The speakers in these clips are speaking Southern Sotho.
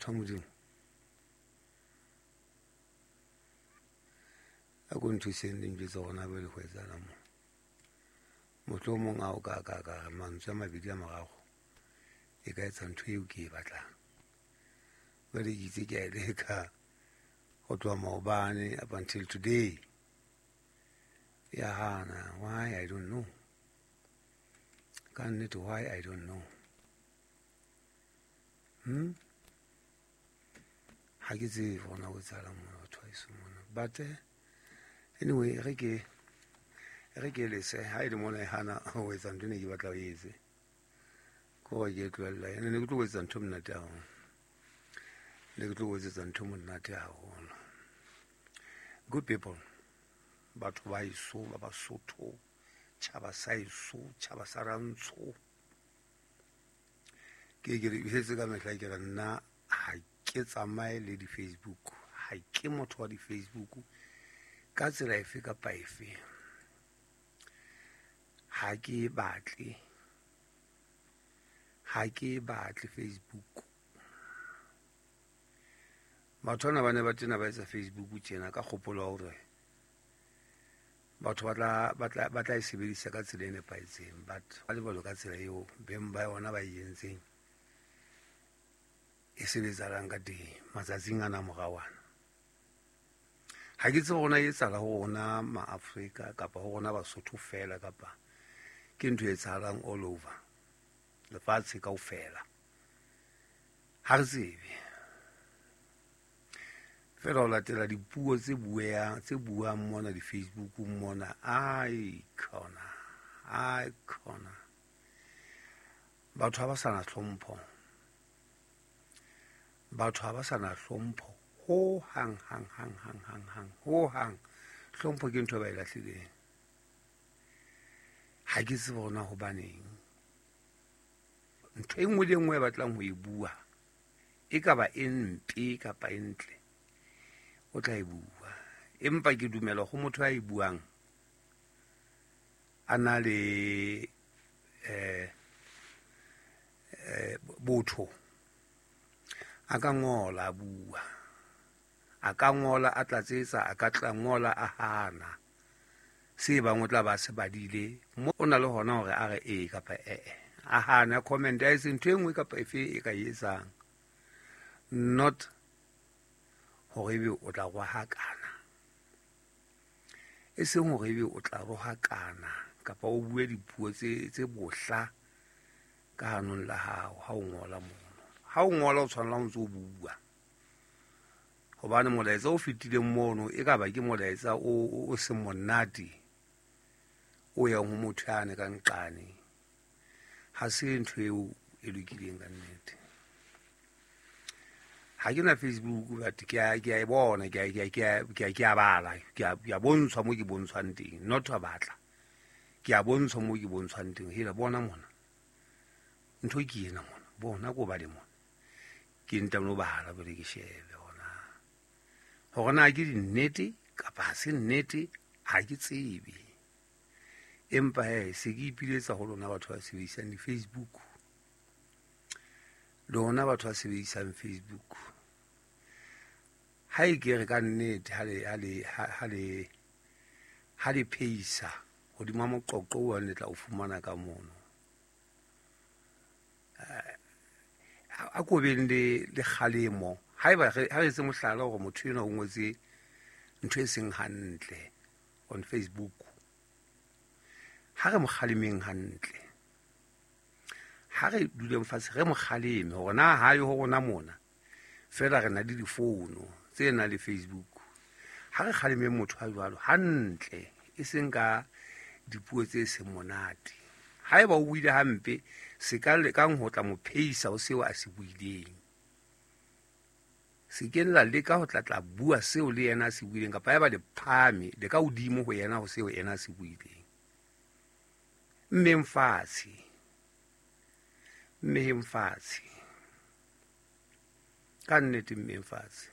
Batho ba Modimo, a ko nthuseng le njwetse gona jwale ho etsahalang mo. Mohlomong a o ka ka ka re mantswe a mabedi a morago e ka etsa ntho eo ke e batlang. Jwale ke itse ke a e leka ho tloha maobane up until today. Ya hana. Why? I don't know. Ka nnete, why? I don't know. Ha ke tsebe gona ho etsahalang mona, batho ba heso mona. But anyway, re ke lese ha e le mona e hana ho etsa ntho e ne ke batla ho etse. Ke hore ke e tlohella. Ene ne ke tlo etsa ntho monate haholo. Ne ke tlo etsetsa ntho monate haholo. Good people, batho ba heso ba Basotho, tjhaba sa heso, tjhaba sa Rantsho. Ke le jwetse ka mehla, ke re nna ha ke tsamaye le di-Facebook, ha ke motho wa di-Facebook ka tsela efe kapa efe. Ha ke e batle, ha ke e batle Facebook. Batho bana ba ne ba tena ba etsa Facebook tjena ka kgopolo ya hore batho ba tla e sebedisa ka tsela e nepahetseng, but ba lebalo ka tsela eo beng ba yona ba e entseng e sebetsahalang ka teng matsatsing ana morao ana. Ha ke tsebe hore na e etsahala ho rona Ma-Afrika kapa ho rona Basotho fela, kapa ke ntho e etsahalang all over lefatshe kaofela. Ha re tsebe. Feela ho latela dipuo tse bueang, tse buang mona di-Facebookung mona, ai khona, ai khona. Batho ha ba sa na hlompho. Batho ha ba sa na hlompho ho hang, hang, hang, hang, hang, hang, ho hang. Hlompho ke ntho e ba e lahlileng. Ha ke tsebe hore na hobaneng. Ntho e nngwe le e nngwe e batlang ho e bua, e ka ba e mpe kapa e ntle, o tla e bua. Empa ke dumela ho motho a e buang a na le botho, a ka ngola a bua, a ka ngola a tlatsetsa, a ka tla ngola a hana se bang o tla ba se badile mo, o na le hona hore a re ee kapa ee, a hane, a comment, a etse ntho e nngwe kapa efe e ka e etsang, not hore ebe o tla rohakana, e seng hore ebe o tla rohakana kapa o bue dipuo tse bohla ka hanong la hao ha o ngola mono. Ha o ngola, o tshwanela o ntse o bua, hobane molaetsa o fetileng mono e ka ba ke molaetsa o seng monate o yang ho motho yane ka nqane. Ha se ntho eo e lokileng ka nnete. Ha ke na Facebook, but ke a e bona, ke a bala, ke a bontshwa mo ke bontshwang teng, not a batla, ke a bontshwa mo ke bontshwang teng. Hela, bona mona, ntho ke ena mona, bona ko bale mona, ke ntano bala pele ke shebe hona hore na ke dinnete kapa ha se nnete, ha ke tsebe. Empa he, se ke ipiletsa ho lona batho ba sebedisang di-Facebook, lona batho ba sebedisang Facebook, ha e ke re ka nnete ha le pheisa hodima moqoqo o le tla o fumana ka mono, a ko beng le kgalemo. Haeba ha re etse mohlala hore motho enwa o ngotse ntho e seng hantle on Facebook, ha re mo kgalemeng hantle, ha re duleng fatshe re mo kgaleme hore na ha yo ho rona mona fela re na le difono tse nang le Facebook. Ha re kgalemeng motho a jwalo hantle, e seng ka dipuo tse seng monate. Haeba o buile hampe, se ka lekang ho tla mo pheisa ho seo a se buileng. Se ke la leka ho tla bua seo le yena a se buileng, kapa haeba le phahame le ka hodimo ho yena ho seo yena a se buileng. Mmeng fatshe, mmeheng fatshe ka nnete, mmeng fatshe.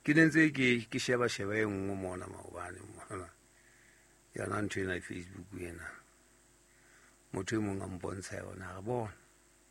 Ke ne ntse ke sheba sheba e nngwe mona maobane mona, yona ntho ena e Facebook ena, motho e mong a mpontsha yona, re bona